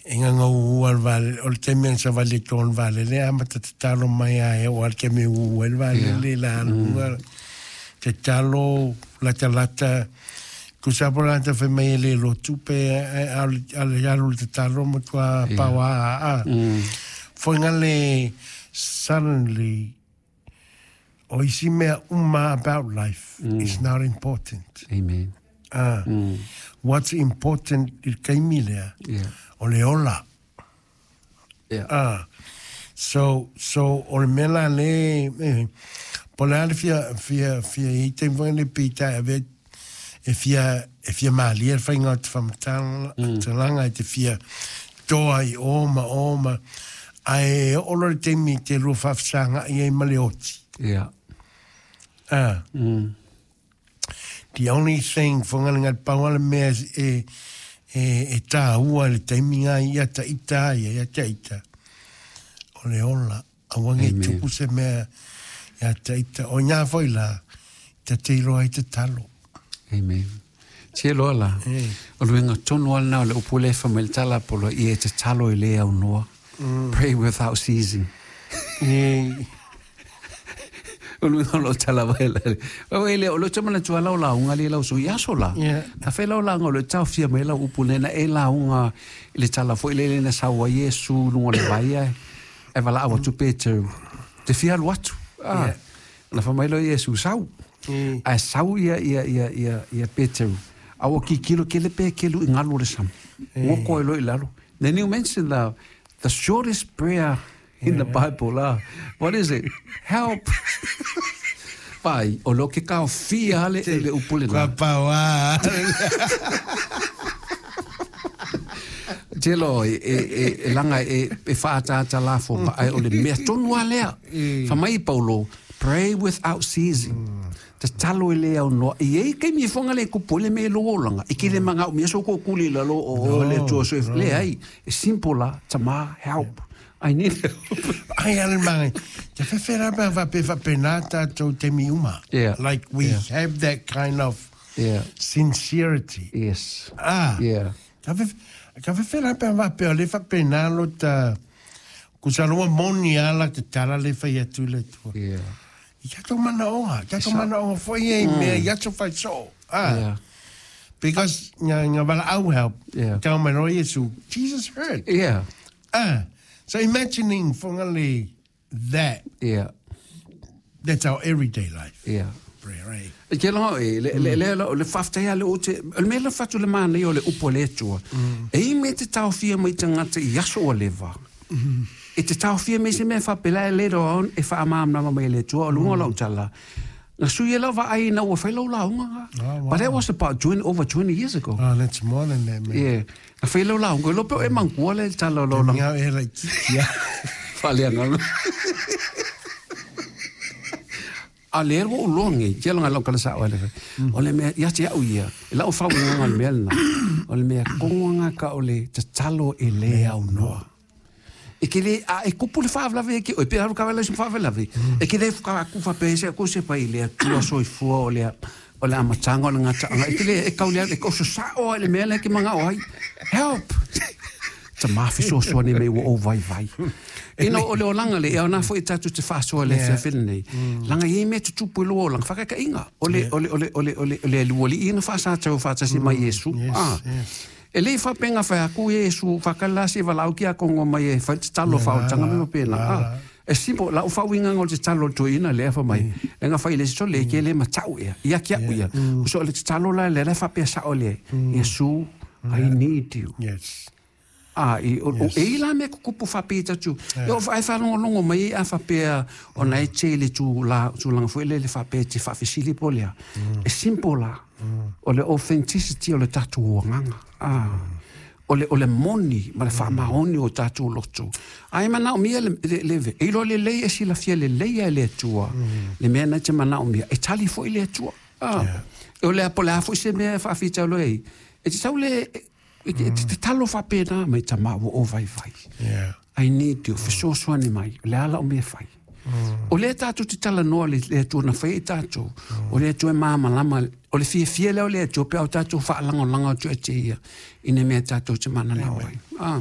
E gagauū lava i le vaalele, o le taimi na savali ai i totonu o le vaalele e amata tatalo mai lava e oo lava i le taimi e ū ai le vaalele i le aluga, tatalo, latalata. Tusa lava po o le tagata fai mai e le lotu pe a o le alu i le tatalo e matua paoa lava. Foi na le suddenly o isi mea uma about life is not important. Amen. What's important i le taimi lea, o le ola. So, so o le mea la le, eh, po o le a le fia, fia, fia i ai taimi foi nei pei ta e avea e fia, e fia malie le faiga o te faamatalaga, e te fia toa i o ma o ma, ae oo loa i le taimi e te lua faafesagai ai ma le oti. The only thing, fagalega le pau lava le mea e, e, e tāua i le taimi lena ia ita ia, ia te ita, o le ola. Aua ne i tupu se mea ia te ita. O ina foi la, ta te iloa ai tatalo. Amen. Te loa la. O le uiga tonu lava lena o le upu lea e fai mai le tala polo ia e tatalo e le aunoa. Pray without ceasing. O le uiga o lau tala mai la. O e le o le te manatua lau lauga le lau sui aso la. Na fai lau lauga o le taofia mai lau upu lena e lauga i le tala foi lele na sau ai Iesu i luga o le vai ae e valaau atu Peteru te fia alu atu. Ah. Na fai mai loa Iesu sau. Ae sau ia ia ia ia ia Peteru. A ua kikilo kele Pekelu i galu o le sami. Ua koe loa i lalo. Then you mention the shortest prayer in the Bible. What is it? Help. Vai, o lo ke kaofia le le upu lena. Kua paoa. Te lo e, e, e, e langa e, e whaataata la fo ai o le mea tonu a lea. Fa mai Paulo, pray without ceasing. Tatalo e le aunoa. I ei taimi e whanga le kupu le me lo olanga. I kile manga o mea so ko kuli lalo o o le tua so e le ai. E simple la, tama, help. I need help. Ai ale mangai. Te whewhera mea whape whapena tātou taimi uma. Like we have that kind of sincerity. Yes. Ah. Ka ka whewhera mea whape o le whapena lo ta kusa loa moni ala te tala le whai atu le tua. I tātou manaoga, tātou manaoga foi e i mea i aso whai so. Ah. Because nga, nga walaau help. Tau mai loa Iesu, Jesus heard. Ah. So imagining whangale that. That's our everyday life. Prayer, eh? E ke longa e, le, le, le, le, le whaftai a le o te, o le mea le whatu le mana i o le upo le atua. E i me te taofia mai tangata i aso o leva. E te taofia mai se mea whapela e later on e whaamamnama mai le atua o lunga o lau tala. Na sui e lau vaai na ua whai lau launga nga. Oh, wow. But that was about 20, over 20 years ago. Oh, that's more than that, man. Yeah. Na whai lau launga, lope o e mangua le tala o lau launga. Ngau e lai kiki, ya. Whaleanga. A le ua ou loa nei, tia langa lau kala sa o le. O le mea, ia te au ia, e lau whau nganga le mea lena. O le mea, kongoanga ka o le tatalo e le au noa. E ke le, a e kupu le whaawelawe e ke, o e pe haru ka wela se whaawelawe. E ke le whaka aku whape se aku se pai le atua soifua o le o le amatanga o le ngataanga. E ke le, e kau le, e kau sa o le mea le ke manga o ai. Help! Ta mafi fesoasoani mai ua ou vaivai. Ina o le olaga le, e aoga foi tatou te faasoa i le afiafi lenei. Laga e i ai mea tutupu i lua olaga, faakaekaiga. O le, o le, o le, o le, o le, o le alualii na faasatau faatasi mai Iesu. Ah. E le i faapega fai aku Iesu faakala se valaau ki a kongo mai e fai le tatalo faaolataga me faapena. Ah. E simple, lau faauigaga o le tatalo a le toeaina lea fai mai, e ga fai i le isi sole, ke le matau ea, ia ki au ia. So o le tatalo la lea la e faapea sao lea, Iesu, I need you. Yes. A, i, o, o, e i la mea kukupu faapea tatu. E o ai whaalongolongo mai a faapea o na e te le tu la, tulaga foi le le faapea te faafesili po lea. E simple la. O le authenticity o le tatou agaga. Ah. O le, o le moni ma le faamaoni o tatou loto. Ai manaomia le, le, le, e iloa lelei e silafia lelei e le Atua. Le mea na te manaomia, e tali foi le Atua. Ah. O le a po le a foi se mea e faafitauli ai. E te tau le, e te, te talo faapena mai tama ua ou vaivai. I need you, fesoasoani mai, o le a lau mea fai. O lea tatou te talanoa le, le Atua na fai i tatou. O le Atua e malamalama, o le fiafia lea o le Atua pe a o tatou faalagolago atu ia te ia i nā mea tatou te mananao ai. Ah.